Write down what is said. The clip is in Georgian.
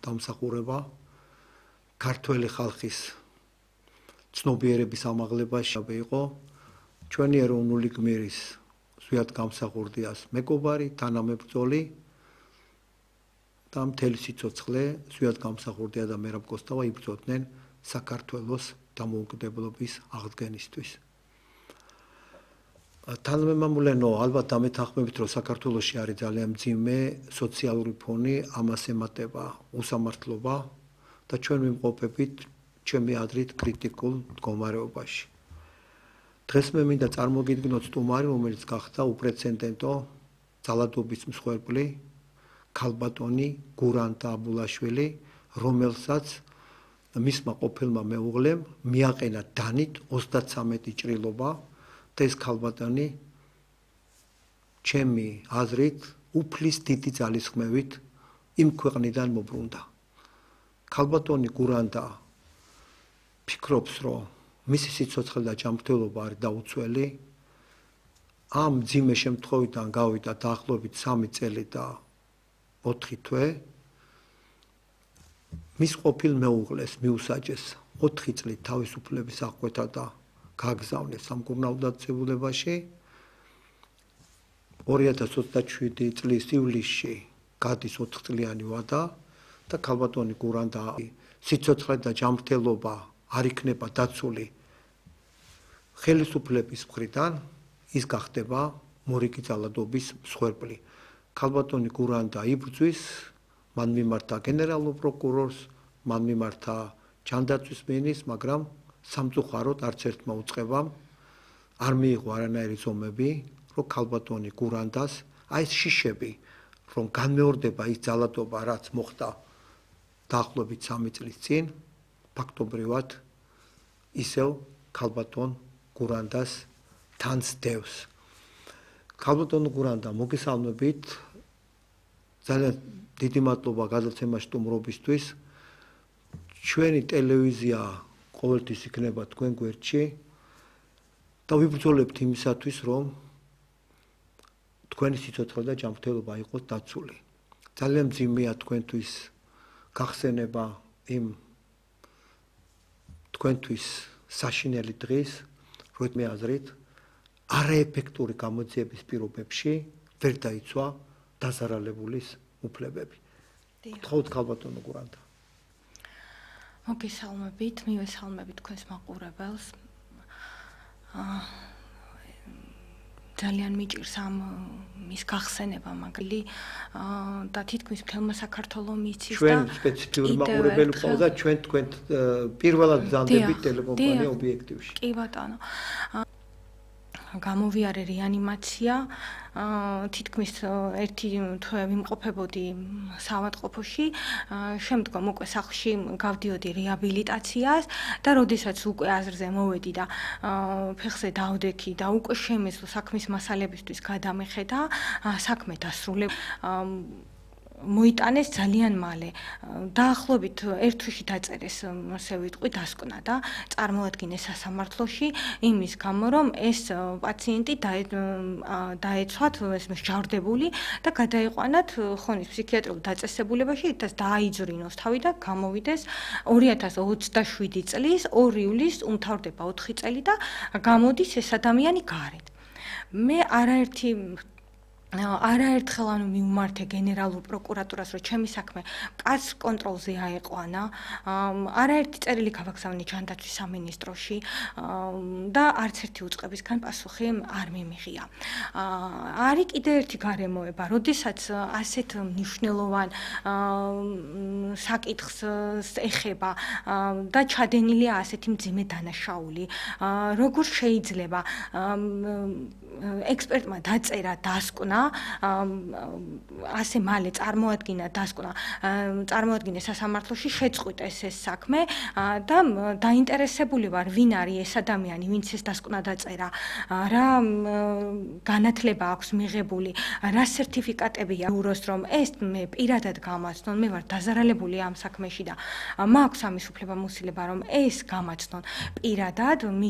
დამსახურება ქართველი ხალხის ცნობიერების ამაღლებაში იყო ჩვენი ეროვნული გმირის ზვიად გამსახურდიას მეგობარი, თანამებრძოლი და მთელი სიცოცხლე ზვიად გამსახურდია და მერაბ კოსტავა იბრძოდნენ საქართველოს დამოუკიდებლობის აღდგენისთვის. თანამემამულენო, ალბათ დამეთანხმებით, რომ საქართველოში არის ძალიან მძიმე სოციალური ფონი, ამას ემატება უსამართლობა და ჩვენ ვიმყოფებით ჩემი აზრით კრიტიკულ მდგომარეობაში. დღეს მე მინდა წარმოგიდგინოთ სტუმარი, რომელიც გახდა უპრეცედენტო ძალადობის მსხვერპლი ქალბატონი გურანტა აბულაშვილი, რომელსაც მისმა ყოფილმა მეუღლემ მიაყენა დანით 33 ჭრილობა და ეს ქალბატონი ჩემი აზრით უფლის დიდი ძალისხმევით იმ ქვეყნიდან მობრუნდა. ქალბატონი გურანტა ფიქრობს, რომ მისი სიცოცხლე და ჯანმრთელობა არის დაუცველი. ამ მძიმე შემთხვევიდან გავიდა დაახლოებით 3 წელი და 4 თვე. მის ყოფილ მეუღლეს მიუსაჯეს 4 წლით თავისუფლების აღკვეთა და გაგზავნეს სამკურნალო დაწესებულებაში. 2027 წლის ივლისში გადის 4 წლიანი ვადა და ქალბატონი გურანტა სიცოცხლე და ჯანმრთელობა არ იქნება დაცული ხელისუფლების მხრიდან, ის გახდება მორიგი ძალადობის მსხვერპლი. ქალბატონი გურანტა იბრძვის, მან მიმართა გენერალურ პროკურორს, მან მიმართა ჯანდაცვის მინისტრს, მაგრამ სამწუხაროდ არც ერთმა უწყებამ არ მიიღო არანაირი ზომები, რომ ქალბატონი გურანტას აი ეს შიშები, რომ განმეორდება ის ძალადობა, რაც მოხდა დაახლოებით 3 წლის წინ, ფაქტობრივად ისევ ქალბატონ გურანტას თანს დევს. ქალბატონ გურანტა, მოგესალმებით. ძალიან დიდი მადლობა გადაცემა სტუმრობისთვის. ჩვენი ტელევიზია ყოველთვის იქნება თქვენ გვერდში და ვიბრძოლებთ იმისათვის, რომ თქვენი სიცოცხლე და ჯანმრთელობა იყოს დაცული. ძალიან მძიმეა თქვენთვის გახსენება იმ თქვენთვის საშინელი დღის, რომ მე აზრით არაეფექტური გამოძიების პირობებში ვერ დაიცვა დაზარალებულის უფლებები. გთხოვთ ქალბატონო გურანტა. მოგესალმებით, მივესალმებით თქვენს მაყურებელს. ძალიან მიჭირს ამ მის გახსენება მაგალი და თითქმის მთელმა საქართველოს მიცის და ჩვენ სპეციფიური მაყურებელი ყავს და ჩვენ თქვენ პირველად გზანდებით ტელეკომპანია ობიექტივში. კი ბატონო. გამოვიარე რეანიმაცია, თითქმის 1 თვე ვიმყოფებოდი საავადმყოფოში, შემდგომ უკვე სახლში გავდიოდი რეაბილიტაციას და როდესაც უკვე აზრზე მოვედი და ფეხზე დავდექი და უკვე შემეძლო საქმის მასალებისთვის გადამეხედა, საქმე დასრულე. მოიტანეს ძალიან მალე. დაახლოებით 1 თვეში დაწერეს, ასე ვიტყვი, დასკვნა და წარმოადგინეს სასამართლოში იმის გამო, რომ ეს პაციენტი დაეცვათ მსჯავრდებული და გადაიყვანათ ხონის ფსიქიატრიულ დაწესებულებაში, ითაც დააიძვრინოს თავი და გამოვიდეს 2027 წლის 2 ივლისს უმთავრდება 4 წელი და გამოდის ეს ადამიანი გარეთ. მე არაერთხელ მივმართე გენერალურ პროკურატურას, რომ ჩემი საქმე კაც კონტროლზე აეყვანა. არაერთი წერილი გავაგზავნე ჯანდაცვის სამინისტროში და არც ერთი უწყებისგან პასუხი არ მიმიღია. არის კიდე ერთი გარემოება, როდესაც ასეთ მნიშვნელოვან საკითხს ეხება და ჩადენილია ასეთი მძიმე დანაშაული, როგორ შეიძლება ექსპერტმა დაწერა დასკვნა, ასე მალე წარმოადგინა დასკვნა, წარმოადგინეს სასამართლოში, შეწყვიტეს ეს საქმე და დაინტერესებული ვარ, ვინ არის ეს ადამიანი, ვინც ეს დასკვნა დაწერა, რა განათლება აქვს მიღებული, რა სერტიფიკატებია უროს, რომ ეს მე პირადად გამაცნონ, მე ვარ დაზარალებული ამ საქმეში და მაქვს ამის უფლება მოსილება, რომ ეს გამაცნონ პირადად.